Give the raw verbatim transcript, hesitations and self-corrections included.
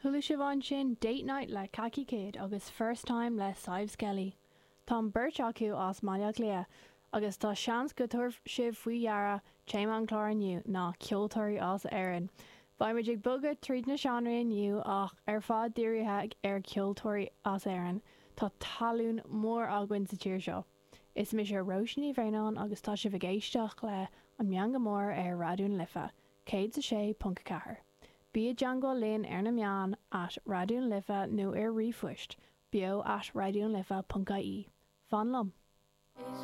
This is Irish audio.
Chuala sibh ansin Date Night le Khaki Kid agus First Time le Sadhbh Skelly. Tá an bheirt acu as Baile Átha Cliath, agus tá seans go dtabharfaidh sibh faoi deara téama an chláir inniu ná ceoltóirí as Éirinn. Beimid ag bogadh tríd na seánraí inniu ach ar fad dírithe ar cheoltóirí as Éirinn, Tá tallann mór againn sa tír seo. Is mise Róisín Ní Bhraonáin agus tá sibh ag éisteacht le an Meangadh Mór ar Raidió na Life, céad a sé ponc ceathair. Bí i dteagmháil linn ar na meáin at Raidió na Life nó ar ríomhphost, beo at raidionalife.ie. Fan liom. Is